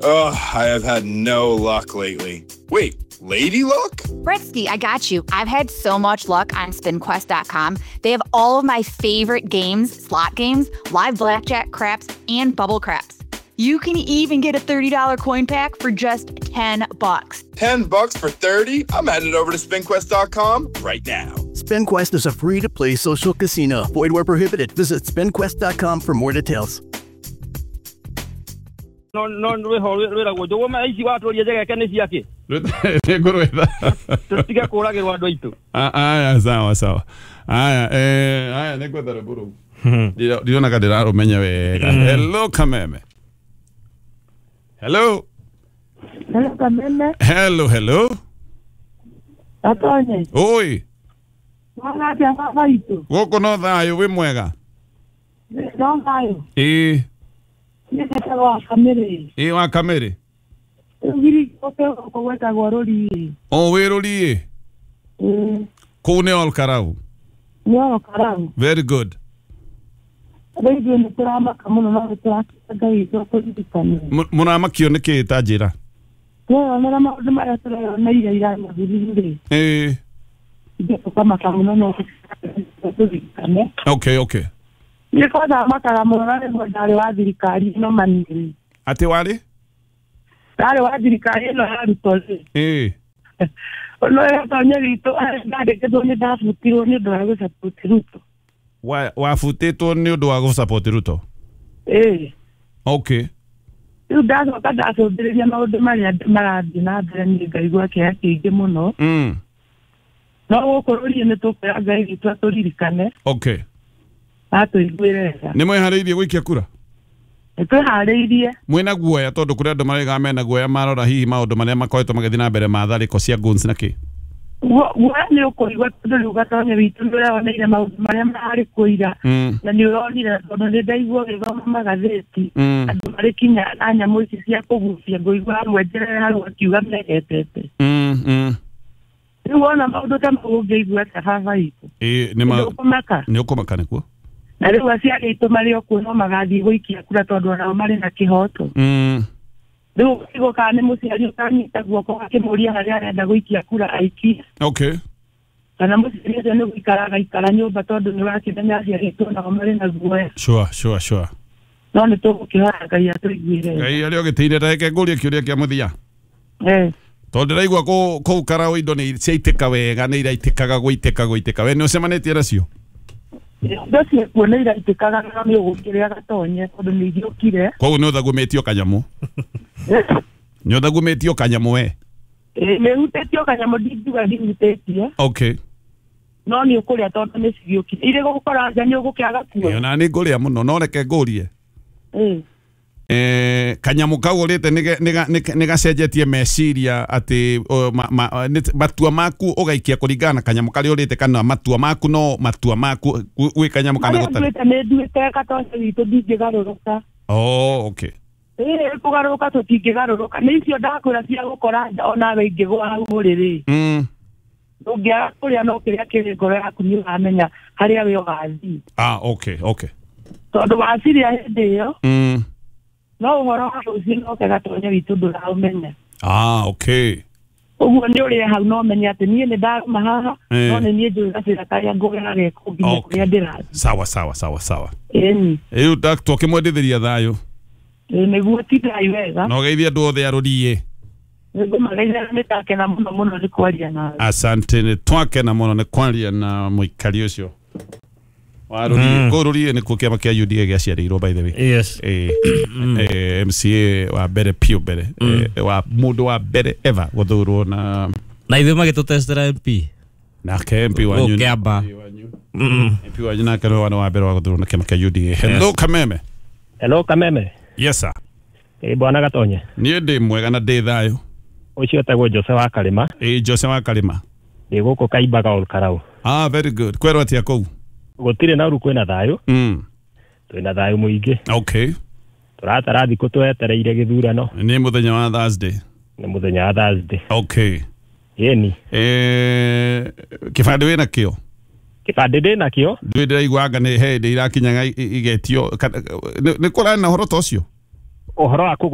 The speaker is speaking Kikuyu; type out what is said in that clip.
Ugh, I have had no luck lately. Wait, lady luck? Bretsky, I got you. I've had so much luck on spinquest.com. They have all of my favorite games, slot games, live blackjack craps, and bubble craps. You can even get a $30 coin pack for just $10. $10 for 30? I'm headed over to spinquest.com right now. SpinQuest is a free-to-play social casino. Void where prohibited. Visit spinquest.com for more details. No rwĩho rwĩragwo njũgũma ici watũria njegeke nĩ ciake. Nĩngũrwetha. Tũtige kũragĩrwo andũ aitũ. Aya, sawa sawa. Aya, aya nĩngwetha rwĩmbo rũu. Ndirona ka ndĩrarũmenya wega. Hello Kameme. Hello. Hello Kameme. Hello, hello. Atonye. Oi. Mwana atĩa baba itũ? Gũkũ no thayũ, wĩ mwega? No thayũ. Ĩĩ. Niĩ njĩtagwo wa Kamĩrĩ. Ĩĩ wa Kamĩrĩ. Rũgiri gũkũ gwĩtagwo Rũriĩ. O wĩ Rũriĩ? Ĩĩ. Kũu nĩ Ol Karau? Nĩ Ol Karau. Very good. Rĩu ithuĩ nĩ tũramaka mũno no nĩ tũrakĩra Ngai witũ atũririkane. Mũramakio nĩ kĩĩ ta njĩra? Tweyonera maũndũ marĩa tũreyoneire ira mathirire. Ĩĩ. Ithuĩ tũkamaka mũno no tũririkane. Okay, okay. Niĩ kwanza makaga mũno na rĩmwe ndarĩ wa thirikari ĩno manini. Atĩ warĩ? Ndarĩ wa thirikari ĩno ya Ruto rĩ. Ĩĩ. No ĩgatonye witũ ndandĩkĩtwo nĩ ndabutirwo nĩ ũndũ wa gũcapoti Ruto. Wabutĩtwo nĩ ũndũ wa gũcapoti Ruto? Ĩĩ. Okay. Rĩu ndacoka ndacũthĩrĩria maũndũ marĩa marathiĩ na mbere niĩ ngaigua kĩeha kĩingĩ mũno. No gũkũ Rũriĩ nĩ tũkwĩra Ngai witũ atũririkane. Okay. Atũiguĩre tha. Nĩ mwĩharĩirie gũikia kura? Nĩ twĩharĩirie. Mwĩna guoya tondũ kũrĩ andũ maraiga mena guoya marora hihi maũndũ marĩa makoretwo magĩthiĩ na mbere ma tharĩko cia guns na kĩ? Guoya nĩ ũkũigua tondũ rĩu Gatonye witũ nĩ ũreyoneire maũndũ marĩa mararĩ kuo ira. Na nĩ ũronire tondũ nĩ ndaigua ũgĩthoma magathĩti. Andũ marĩ kinya na nyamũ ici cia kũgucia ngũigua hamwe njerere hau akiuga megetete. Rĩu wona maũndũ ta mau ũngĩigua atĩa baba witũ? Ĩĩ nĩ Nĩ ũkũmaka. Nĩ ũkũmaka nĩkuo? Na rĩu aciari aitũ marĩ o kuo no magathiĩ gũikia kura tondũ onao marĩ na kĩhoto. Rĩu ũkaigua kana nĩ mũciari ũkanyita guoko akĩmũria harĩa arenda gũikia kura aikie. Okay. Kana mũciari ũcio nĩ gũikara agaikara nyũmba tondũ nĩ ũrakĩmenya aciari aitũ onao marĩ na guoya. Sure, sure, sure. No nĩ tũgũkĩhoya Ngai atũiguĩre. Ngai arĩ ũgĩtĩire ta reke ngũrie kĩũria kĩa mũthia. Tondũ ndĩraigua kũu Karau indo nĩ ciaitĩka wega nĩ iraitĩkaga gũitĩka gũitĩka. We nĩ ũcemanĩtie nacio? Indo ciekuo nĩ iraitĩkaga no nĩ ũgũkĩrĩa Gatonye tondũ nĩ igĩũkire. Koguo nĩ ũthagumĩtio kanyamũ? Nĩ ũthagumĩtio kanyamũ we? Ĩĩ nĩ hutĩtio kanyamũ ndingiuga ndihutĩtie. Okay. No nĩ ũkũrĩa tondũ nĩ cigĩũkire. Irĩ gũgũkora nja nĩ ũgũkĩaga kuo. Ĩĩ ona nĩ ngũrĩa mũno no reke ngũrie. Ĩĩ. Kanyamũ kau ũrĩte nĩ gacenjetie meciria atĩ matua maku ũgaikia kũringana na kanyamũ karĩa ũrĩte kana matua maku no matua maku gwĩ kanyamũ kana gũtarĩ? Marĩa nduĩte nĩ nduĩte Gatonye witũ ndingĩgarũrũka. Oh, okay. Ĩĩ kũgarũrũka tũtingĩgarũrũka. Nĩ icio ndakwĩra cia gũkora nja onawe ingĩgũa hau ũrĩrĩ. Ndũngĩaga kũrĩa no kĩrĩa kĩrĩ ngoro yaku nĩ ũramenya harĩa we ũgathiĩ. Ah, okay, okay. Tondũ waciria hĩndĩ ĩyo no ũhoro wa rũciũ no ke Gatonye witũ ndũraũmenya. Ah, okay. Ũguo nĩ ũrĩe hau no ũmenye atĩ niĩ nĩ ndarũma haha no nĩ niĩ njũĩ gacĩra karĩa ngũgera geko nginya kũrĩa ndĩrathiĩ. Sawa sawa sawa sawa. Ĩni. Rĩu twakĩmwendithĩria thayũ. Ĩĩ nĩguo tindai wega. Na ũgeithie andũ othe a Rũriĩ. Nĩngũmageithia na nĩndakena mũno mũno nĩ kwaria nawe. Asante, nĩ twakena mũno nĩ kwaria na mũikari ũcio wa Rũriĩ. Kũu Rũriĩ nĩkuo kĩama kĩa UDA gĩaciarĩirwo by the way. Yes. MCA wa mbere piũ mbere wa mũndũ wa mbere ever gũthurwo na ithuĩ magĩtũtestera MP. Nake MP wanyu. Kĩamba. MP wanyu nake nĩwe wa mbere wa gũthurwo na kĩama kĩa UDA. Hello Kameme. Hello Kameme. Yes sir. Ĩ bwana Gatonye. Niĩ ndĩ mwega na ndĩ thayũ. Ũcio etagwo Jose wa Karĩma. Ĩ Jose wa Karĩma. Ndĩ gũkũ Kaimbaga Ol Karau. Ah, very good. Kwerwo atĩa kũu? Gũtirĩ na ũru kwĩna thayũ. Twĩna thayũ mũingĩ. Okay. Tũratara thikũ twetereire gĩthurano. Nĩ mũthenya wa Thursday. Nĩ mũthenya wa Thursday. Okay. Ĩni. Kĩbandĩ wĩna kĩo? Kĩbandĩ ndĩ nakĩo. Ndũĩ ndĩraigua anga nĩ hĩndĩ irakinyaga igetio. Nĩ kũrarĩ na ũhoro ta ũcio? Ũhoro wa kũgũra